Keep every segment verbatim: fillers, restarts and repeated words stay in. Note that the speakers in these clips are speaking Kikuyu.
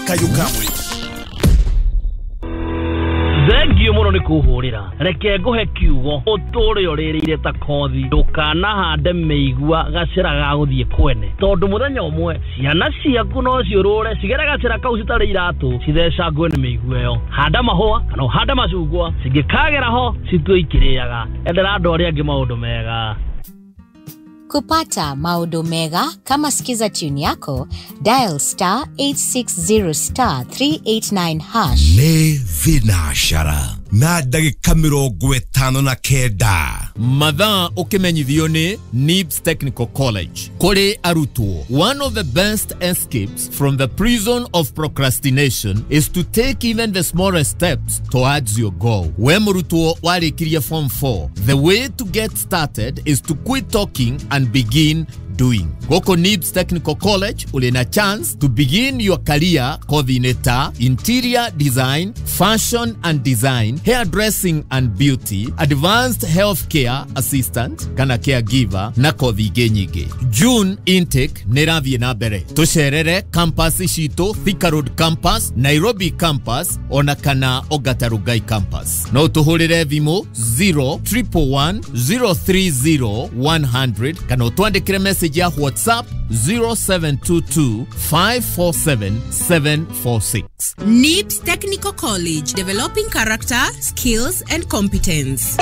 Kayũ ka mũingĩ. Thengio mũno nĩ kũhũrĩra. Reke ngũhe kiugo ũtũre ũrĩrĩire ta kothi. Ndũkanahande mĩigua gacĩra ga gũthiĩ kwene, tondũ mũthenya ũmwe ciana ciaku no ciũrũre cigere gacĩra kau citarĩ iratũ, cithecangwe nĩ mĩigua ĩyo. Handa mahũa kana ũhande macungwa, cingĩkagera ho citue ikĩrĩaga. Endera andũ arĩa angĩ maũndũ mega. Kupata maũndũ mega kama Skiza tune yako, dial star eight six zero star three eight nine hash. Nĩ thinacara na ndagĩka mĩrongo ĩtano na kenda. Mathaa ũkĩmenyithio nĩ Nibs Technical College. Kũrĩ arutwo, one of the best escapes from the prison of procrastination is to take even the smallest steps towards your goal. We mũrutwo warĩkirie form four, the way to get started is to quit talking and begin doing. Goko Nibs Technical College uli na chance to begin your career kothi-inĩ ta interior design, fashion and design, hairdressing and beauty, advanced healthcare assistant kana caregiver na kothi ingĩ nyingĩ. June intake nĩ ĩrathiĩ na mbere. Tũcerere campus citũ, Thika Road campus, Nairobi campus ona kana Ongata Rongai campus. No tũhũrĩre thimũ zero triple one zero three zero one hundred kana ũtwandĩkĩre message ya WhatsApp zero seven two two five four seven seven four six. Nibs Technical College, developing character, skills and competence.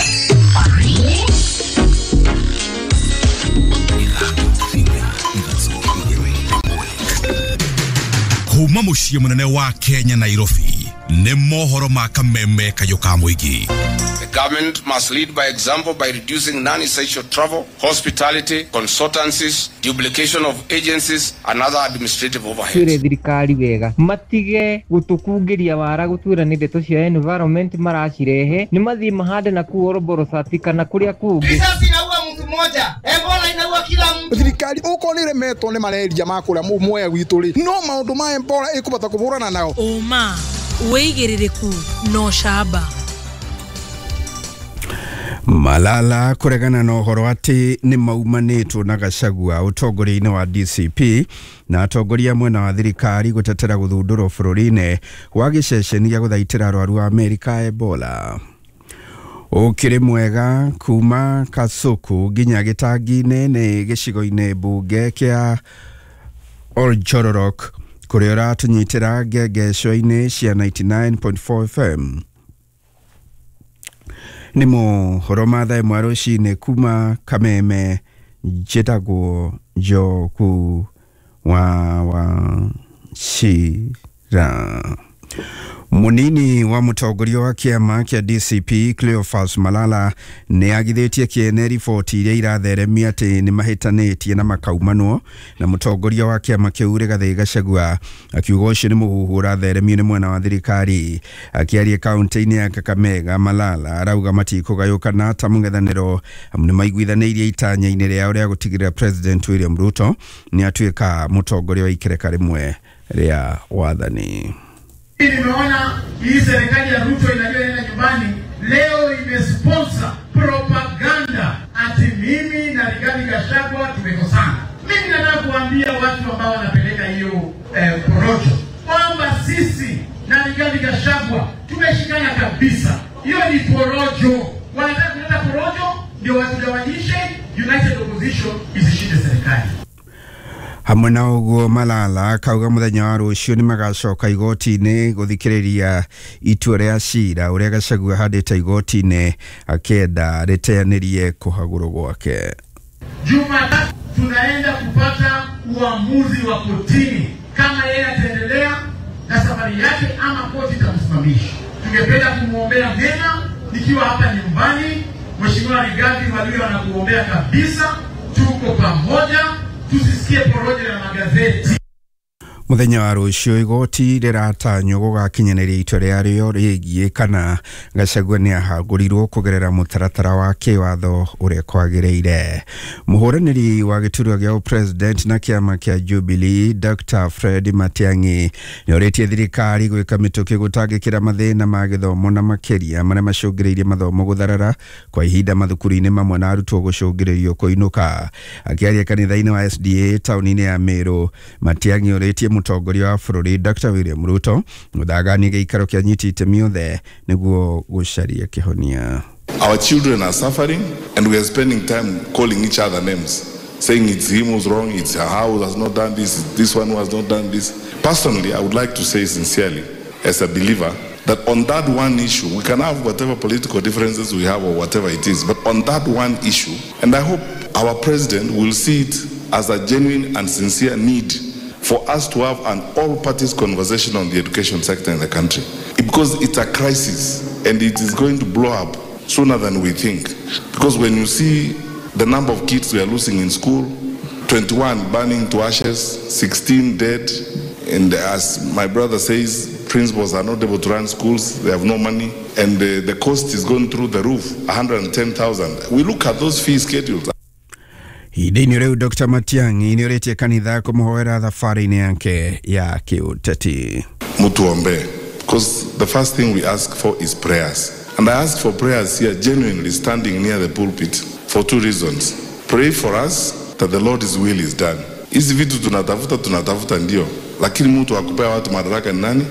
Kuma mũciĩ mũnene wa Kenya Nairobi nĩ mohoro ma kameme kayũ ka mũingĩ. The government must lead by example by reducing non-essential travel, hospitality, consultancies, duplication of agencies and other administrative overheads. Twire thirikari wega matige gutukungĩria wara gutwira nĩ ndeto cia environment maracirehe nĩ mathiĩ mahande na kuu Oroborosati kana kũrĩa kũngĩ. Risasi inaua mtu mmoja, Ebola inaua kila mtu. Thirikari uko nĩ remetwo nĩ malaria ma kũrĩa Mwea gwitũ rĩ, no maũndũ ma Ebola ĩkũbata kũhũrana nao. Ũma wĩigĩrĩrĩku no camba. Malala kuregana na ũhoro atĩ nĩ maumanĩtwo na Gachagua ũtongoria-inĩ wa D C P na atongoria mwena wa thirikari gũtetera gũthundũrwo bũrũri-inĩ wa gĩceceni gĩa gũthaitĩra arwaru a Amerika Ebola. Ũkĩrĩ mwega kuma Kasuku nginya gĩtangi-inĩ nĩ gĩcigo-inĩ mbunge kĩa Oljororok kũrĩa ũratũnyitĩra ngengeco-inĩ cia ninety-nine point four F M. Nĩ mohoro ma thaa ĩmwe rũcinĩ kuma Kameme, njĩtagwo Njoku wa Wachira. Munini wa mũtongoria wa kĩama kĩa D C P Cleophas Malala nĩ agithĩtie kĩene riboti iria iratheremia atĩ nĩ mahĩtanĩtie na makaumanwo na mũtongoria wa kĩama kĩu Rigathĩ Gachagua akiuga ũcio nĩ mũhuhu ũratheremio nĩ mwena wa thirikari. Akĩaria kaunti-inĩ ya Kakamega, Malala arauga matikũgayũkana ta mũng'ethanĩro amu nĩ maiguithanĩirie itanya-inĩ rĩao rĩa gũtigĩrĩra President William Ruto nĩ atuĩka mũtongoria wa ikereka rĩmwe rĩa wathani. Nimeona hii serikali ya Ruto inajua inaenda nyumbani leo imesponsor propaganda ati mimi na Rigathi Gachagua tumekosana. Mimi nataka kuambia watu ambao wanapeleka hiyo eh, porojo kwamba sisi na Rigathi Gachagua tumeshikana kabisa. Hiyo ni porojo. Wanataka kuleta porojo ndio watugawanyishe, United Opposition isishinde serikali. Hamwe na ũguo Malala akauga mũthenya wa rũciũ nĩ magacoka igoti-inĩ gũthikĩrĩria itua rĩa cira ũrĩa Gachagua ahandĩte igoti-inĩ akĩenda rĩteanĩrie kũhagũrwo gwake. Jumatatu tunaenda kupata uamuzi wa kotini kama yeye ataendelea na safari yake ama koti itamsimamisha. Tungependa kumwombea mema nikiwa hapa nyumbani. Mheshimiwa Rigathi walio wanakuombea kabisa, tuko pamoja. Tusisikie porojo ya magazeti. Mũthenya wa rũciũ igoti rĩratanywo gũgakinyanĩria itua rĩarĩo rĩgiĩ kana Gachagua nĩ ahagũrirwo kũgerera mũtaratara wa kĩwatho ũrĩa kwagĩrĩire. Mũhũranĩri wa gĩturwa gĩa president na kĩama kĩa Jubilee Doctor Fred Matiang'i nĩorĩtie thirikari gwĩka mĩtũkĩ gũtangĩkĩra mathĩna ma gĩthomo na makĩria marĩa macũngĩrĩirie mathomo gũtharara kwa ihinda mathukuru-inĩ mamwe na arutwo gũcũngĩrĩrio kũinũka. Akĩaria kanitha-inĩ wa S D A taũni-inĩ ya Meru, Matiang'i orĩtie mũtongoria wa bũrũri Dr William Ruto gũthagania gĩikaro kĩa nyiti itemi othe nĩguo gũcaria kĩhonia. Our children are suffering and we are spending time calling each other names, saying it's him who's wrong, it's her who has not done this, it's this one who has not done this. Personally, I would like to say sincerely, as a believer, that on that one issue, we can have whatever political differences we have or whatever it is, but on that one issue, and I hope our president will see it as a genuine and sincere need for us to have an all parties conversation on the education sector in the country, because it's a crisis and it is going to blow up sooner than we think. Because when you see the number of kids we are losing in school, twenty-one burning to ashes, sixteen dead, and as my brother says, principals are not able to run schools, they have no money, and the, the cost is going through the roof, one hundred ten thousand. We look at those fee schedules. Ihinda-inĩ rĩu Dr Matiang'i nĩorĩtie kanitha kũmũhoera thabarĩ-inĩ yake ya kĩũteti. Mutuombe, because the first thing we ask for is prayers. And I ask for prayers here genuinely standing near the pulpit for two reasons. Pray for us that the Lord's will is done. Hizi vitu tunatafuta tunatafuta ndio, lakini mtu akupea watu madaraka ni nani?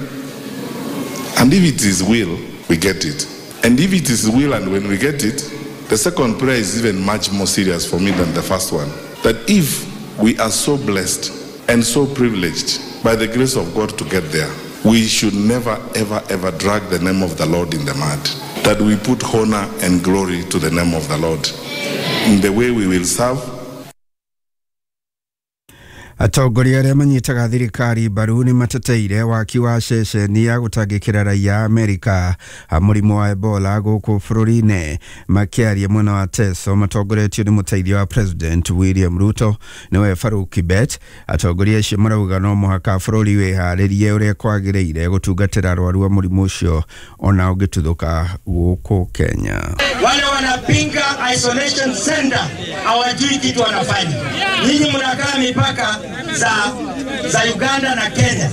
And if it is will, we get it. And if it is will and when we get it, the second prayer is even much more serious for me than the first one. That if we are so blessed and so privileged by the grace of God to get there, we should never, ever, ever drag the name of the Lord in the mud. That we put honor and glory to the name of the Lord in the way we will serve. Atongoria arĩa manyitaga thirikari mbaru nĩ mateteire waki wa ceceni ya gũtangĩkĩra raia a Amerika a mũrimũ wa Ebola gũkũ bũrũri-inĩ. Makĩaria mwena wa Teso matongoretio nĩ mũteithia wa President William Ruto nĩwe Farouk Kibet, atongoria acio marauga no mũhaka bũrũri wĩharĩrie ũrĩa kwagĩrĩire gũtungatĩra arwaru a mũrimũ ũcio ona ũngĩtuthũka gũkũ Kenya. Wale wanapinga isolation center hawajui kitu wanafanya. Nyinyi mnakaa mipaka za, za Uganda na Kenya,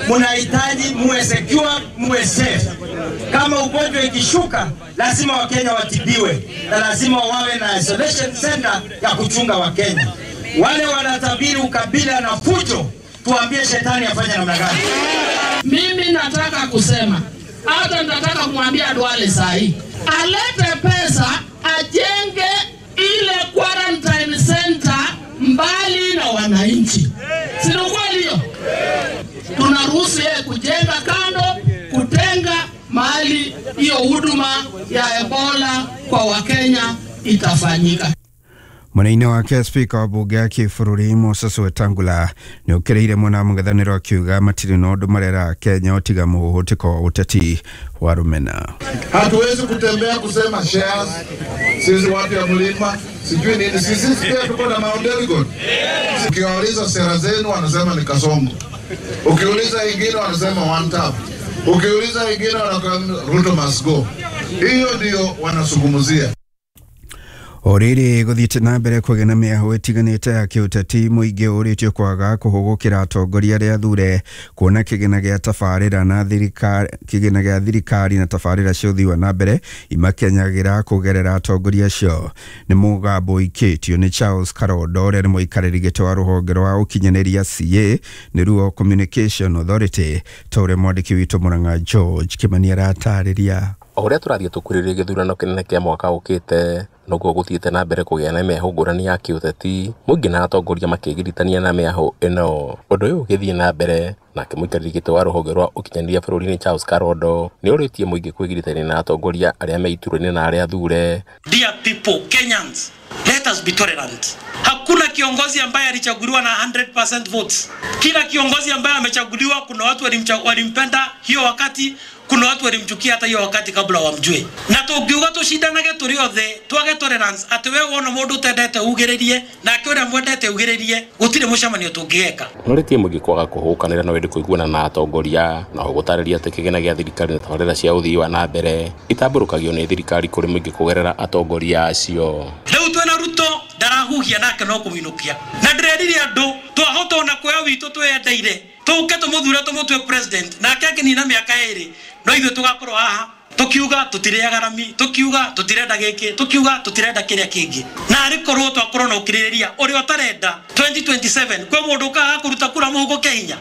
mnahitaji muwe secure, muwe safe. Kama ugonjwa ikishuka, lazima Wakenya watibiwe na lazima wawe na isolation center ya kuchunga Wakenya. Wale wanatabiri ukabila na fujo, tuambie shetani afanye namna gani? Mimi nataka kusema, hata nataka kumwambia Duale sahi alete pesa ajenge ile quarantine center mbali na wananchi. Si ni kweli hiyo? Tunaruhusu yeye kujenga kando, kutenga mahali hiyo huduma ya Ebola kwa Wakenya itafanyika. Mwena-inĩ wake spika wa bunge ya kĩbũrũri Moses Wetangula nĩ ũkĩrĩire mwena wa mũng'ethanĩro akiuga matirĩ na ũndũ marera Kenya ũtiga mũhũhũtĩko wa ũteti wa rũmena. Hatuwezi kutembea kusema shares, sisi watu ya mlima sijui nini, sisi pia tuko na Mount Elgon. Ukiwauliza sera zenu wanasema ni Kasongo, ukiuliza ingine wanasema one tap, ukiuliza ingine wanasema Ruto must go. Hiyo ndio wanasungumzia. O rĩrĩ gũthiĩte na mbere kũgĩa na mĩahũ ĩtiganĩte ya kĩũteti, mũingĩ ũrĩtio kwaga kũhũgũkĩra atongoria arĩa athure kuona kĩgĩna gĩa tabarĩra na thirikari kĩgĩna gĩa thirikari na tabarĩra cia ũthii wa na mbere imakenyagĩra kũgerera atongoria acio. Nĩ mũgambo ũikĩtio nĩ Charles Karondo ũrĩa nĩ mũikarĩri gĩtĩ wa rũhonge rwa ũkinyanĩria C A nĩruo Communication Authority, ta ũrĩa mwandĩki witũ Mũrang'a George Kĩmani aratarĩria. O ũrĩa tũrathiĩ tũkuhĩrĩirie gĩthurano kĩnene kĩa mwaka ũkĩte, noguo gũthiĩte na mbere kũgĩa na mĩahũ ngũrani ya kĩũteti, mũingĩ na atongoria makĩgiritania na mĩahũ ĩno. Ũndũ ũyũ ũgĩthiĩ na mbere, nake mũikarĩri gĩtĩ wa rũhonge rwa ũkinyanĩria bũrũri-inĩ Charles Karondo nĩ ũrĩtie mũingĩ kwĩgiritania na atongoria arĩa me iturwa-inĩ na arĩa athure. Dear people, Kenyans, let us be tolerant. Hakuna kiongozi ambaye alichaguliwa na hundred percent votes. Kila kiongozi ambaye amechaguliwa, kuna watu walimpenda hiyo wakati, kuna watu walimchukia hata hiyo wakati kabla wamjue. Na tungiuga tushindanage turi othe, twage tolerance ati we wona mundu utendete ugiririe nake uria mwendete ugiririe, gutire mucemanio tungigeka. Noritie mũingĩ kwaga kũhũkanĩra na wendi kũiguana na atongoria, na gũtarĩria atĩ kĩgĩna gĩa thirikari na tabarĩra cia ũthii wa na mbere itambũrũkagio nĩ thirikari kũrĩ mũingĩ kũgerera atongoria acio. Rĩu twĩna Ruto ndarahuhia nake no kũmũinũkia, na ndĩrerire andũ twahota ona kuoya witũ twĩyendeire tũke tũmũthure tũmũtue president, nake akĩnina mĩaka ĩrĩ no ithuĩ tũgakorwo haha. Tukiuga tutiriaga rami, tukiuga tutirenda giki, tukiuga tutirenda kiria kingi. Na arikorwo twakorwo na ukiririria uria utarenda twenty twenty-seven kwe mundu ukaga kuruta kura muhuko Kenya.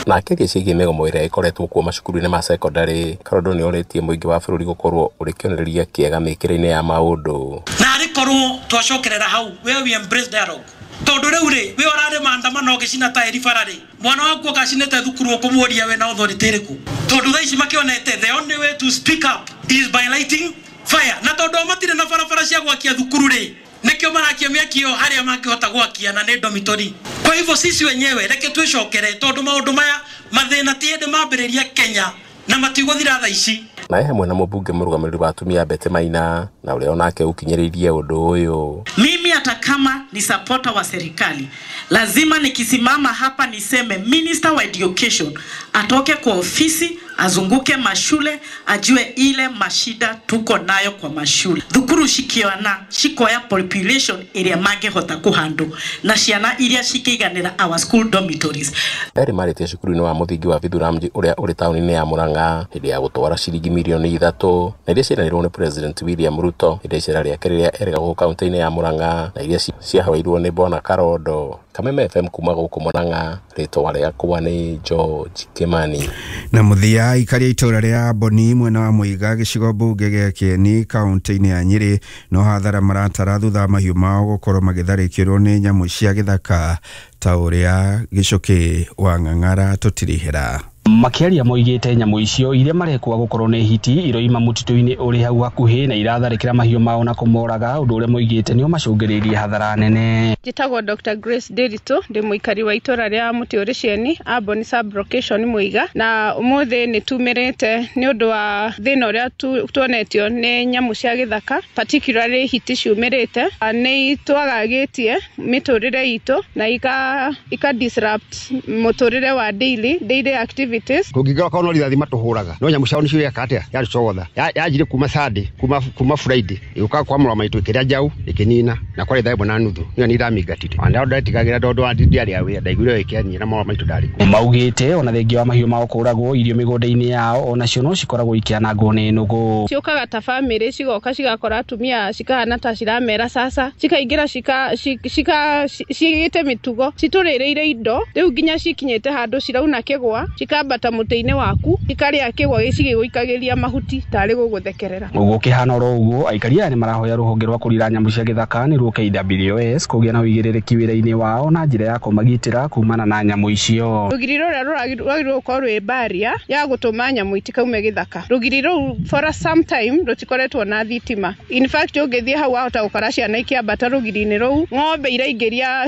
Na akĩaria ciĩgiĩ mĩgomo ĩrĩa ĩkoretwo kuo macukuru-inĩ ma sekondarĩ, Karondo nĩ orĩtie mũingĩ wa bũrũri gũkorwo ũrĩ kĩonereria kĩega mĩkĩre-inĩ ya maũndũ. Na arikorwo twacokerera hau where we embrace dialogue, tondu riu ri we urari maandamano gicina tairi bara ri mwana waku akacinite thukuru ukumuria we na authority iriku, tondu thaa ici makionete the only way to speak up is by lighting fire, na tondu matire na barabara cia gwakia thukuru ri nikio marakia miaki yo haria mangihota gwakia na ni dormitory. Kwa hivyo sisi wenyewe reke twicokere, tondu maundu maya mathina ti hindi mambiriria Kenya na matiguthira thaa ici. Na hamwe na mũmbunge mũrũgamĩrĩri wa atumia Betty Maina na ũrĩa onake ũkinyĩrĩirie ũndũ ũyũ. Mimi hata kama ni supporter wa serikali, lazima nikisimama hapa niseme Minister wa Education atoke kwa ofisi, azunguke mashule, ajue ile mashida tuko nayo kwa mashule. Thukuru shikiona shikoya population iria mangehota kuhandle na ciana iria cikeiganira our school dormitories. Erĩ marĩtie cukuru-inĩ wa mũthingi wa Vithuramji ũrĩa ũrĩ taũni-inĩ ya Murang'a hĩndĩ ya gũtwara ciringi milioni ithatũ na iria ciaranĩirwo nĩ President William Ruto hĩndĩ ya icera rĩake rĩrĩa erĩga gũkũ kaunti-inĩ ya Murang'a na iria ciahoirwo nĩ Bwana Karondo. Kameme F M kuma gũkũ Murang'a, rĩtwa rĩakwa nĩ George Kimani. Na mũthia aikari a itũra rĩa Boni mwena wa Muiga gĩcigo mbunge gĩa Kieni kaunti-inĩ ya Nyĩrĩ no hathara maratara thutha wa mahiũ mao gũkorwo magĩtharĩkĩrwo nĩ nyamũ cia gĩthaka ta ũrĩa Gĩcũkĩ wa Ng'ang'ara tũtirihĩra. Makĩaria moigĩte nyamũ icio iria marekwa gũkorwo nĩ hiti iroima mũtitũ-inĩ ũrĩ hau hakuhĩ na iratharĩkĩra mahiũ mao na kũmoraga, ũndũ ũrĩa moigĩte nĩo macũngĩrĩirie hathara nene. Njĩtagwo Doctor Grace Ndiritu, ndĩ mũikari wa itũra rĩa Mũtĩ ũrĩ Cieni, Amboni sub-location Muiga, na ũmũthĩ nĩ tumĩrĩte nĩ ũndũ wa thĩna ũrĩa tuonetio nĩ nyamũ cia gĩthaka, particularly hiti ciumĩrĩte. Nĩ twagagĩtie mĩtũrĩre itũ na ika, ika disrupt mũtũrĩre wa daily, daily activity. Kũngĩkorwo korwo no rithathi matũhũraga no nyamũ ciao nĩcio yeka atĩa yatũcogotha yanjire kuma Sunday kuma kuma Friday ĩgũka kwa mũrwa maitũ ĩkĩrĩa njaũ ĩkĩnina na kwarĩ thaa ĩmwe na nuthu niyo nĩ iramĩingatire ona ndetigagĩra tondũ ndiarĩ a wĩra ndaiguire ĩkĩanyia na mũrwa maitũ ndarĩ kuo. Maugĩte ona thengia wa mahiũ mao kũragwo irio mĩgũnda-inĩ yao onacio no cikoragwo ikĩanangwo nĩ nũgũ. Ciũkaga ta famĩlĩ cigoka cigakora atumia cikahana ta ciramera sasa cikaingĩra cika cika cigĩte mĩtugo citũrĩrĩire indo rĩu nginya cikinyĩte handũ cirauna kĩgwa cikambata mũtĩ-inĩ waku ikarĩa kĩgwa gĩcigĩgũikagĩria mahuti tarĩ gũgũthekerera. Gũkĩhana oro ũguo aikari aya nĩ marahoya rũhonge rwa kũrira nyamũ cia gĩthaka nĩruo K W S kũgĩa na ũigĩrĩrĩki wĩra-inĩ wao na njĩra ya kũmagitĩra kumana na nyamũ icio. Rũgiri rũrĩa rwagĩrĩirwo gũkorwo rwĩ barrier ya gũtũma nyamũ itikaume gĩthaka. Rũgiri rũu for some time rũtikoretwo na thitima. In fact ũngĩthiĩ hau wahota gũkora ciana ikĩambata rũgiri-inĩ rũu, ng'ombe iraingĩria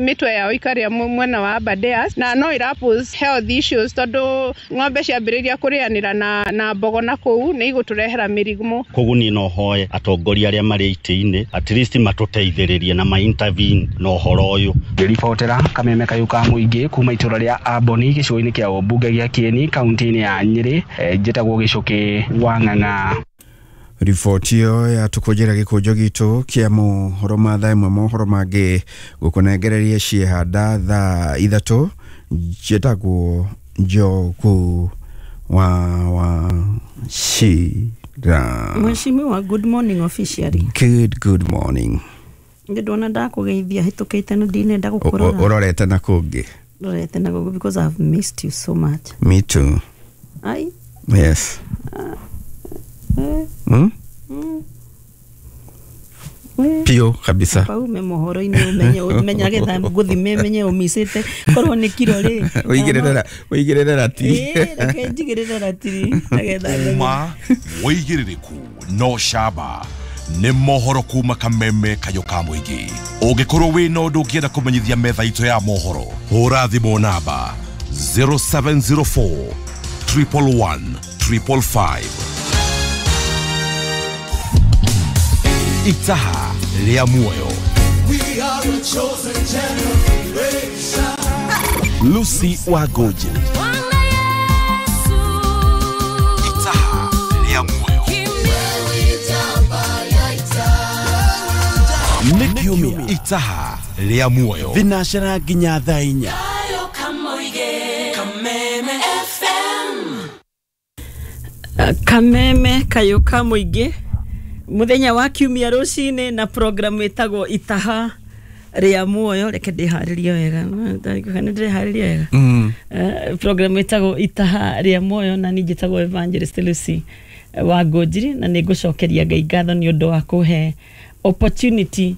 mĩtwe yao ikarĩa mwena wa Aberdares na no ira pose health issues tondũ ng'ombe ciambĩrĩria kũrĩanĩra na, na mbogo na kũu nĩ igũtũrehera mĩrimũ. Koguo niĩ no hoe atongoria arĩa marĩ itĩ-inĩ at least matũteithĩrĩrie na ma intervene na ũhoro ũyũ. Ngĩribotera Kameme Kayũ ka mũingĩ kuma itũra rĩa Amboni gĩcigo-inĩ kĩa ũmbunge gĩa Kieni kaunti-inĩ ya Nyĩrĩ, njĩtagwo Gĩcũkĩ wa Ng'ang'a. Riboti ĩyo yatũkũnjĩra gĩkũnjo gitũ kĩa mohoro ma thaa ĩmwe mohoro mangĩ gũkũnengereria ciehanda thaa ithatũ. Njĩtagwo Njogu wa wa Shira. Mheshimiwa, good morning officially. Good good morning. Ndona ndakũgeithia hĩtũkĩte na ndinenda gũkũrora. Ũrorete na kũngĩ. Ndorete na kũngĩ because I've missed you so much. Me too. Ai? Yes. Uh, eh. Mm? Mm. Eh. Pio kabisa. Paume mohoro-inĩ ũmenye ũmenye getha ngũthime menye ũmicĩte korwo nĩ kiro rĩ. Ũigĩrĩre ũigĩrĩre ratiri. Eh, reke njigĩrĩre ratiri nagetha. Uma wĩigĩrĩrĩku no shaba nĩ mohoro kuma Kameme Kayũ ka mũingĩ. Ũngĩkorwo wĩna ũndũ ũngĩenda kũmenyithia metha itũ ya mohoro, hũra thimũ namba zero seven zero four triple one triple five. Itaha rĩa muoyo. We are a chosen generation. Lucy Wagoji. Itaha rĩa muoyo. Nĩ kiumia Itaha rĩa muoyo. Thinacera nginya thaa inya. Kameme kayũ ka mũingĩ mũthenya wa kiumia rũcinĩ na programu ĩtagwo Itaha rĩa Muoyo. Reke ndĩharĩrie wega, nĩ ndĩreharĩria wega. Mm. Eh, programu ĩtagwo Itaha rĩa Muoyo na niĩ njĩtagwo Evangelist Lucy wa Ngũnjiri, na nĩ ngũcokeria Ngai ngatho nĩ ũndũ wa kũhe opportunity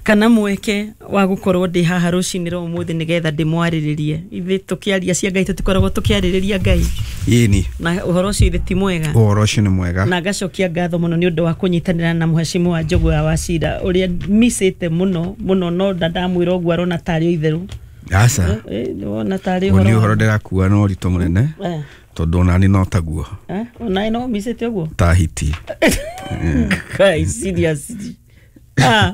kana mweke wa gũkorwo ndĩ haha rũcinĩ rwa ũmũthĩ nĩgetha ndĩmwarĩrĩrie. Ithuĩ tũkĩaria cia Ngai tũtikoragwo tũkĩarĩrĩria Ngai Ĩni. na ũhoro ũcio ithe ti mwega. Ũhoro ũcio nĩ mwega. Na ngacokia ngatho mũno nĩ ũndũ wa kũnyitanĩra na mũhecimu wa Njũgũya wa Cira ũrĩa micĩte mũno mũno, no ndamwĩra ũguo arona tarĩ o itherũ. Aca. Eh, wona tarĩ Ũyũ nĩ ũhoro ũhoro ndĩrakua na ũritũ mũnene Eh, tondũ onani no taguo. Eh, onawe no micĩte ũguo ta hiti. Kai, seriously? Ah.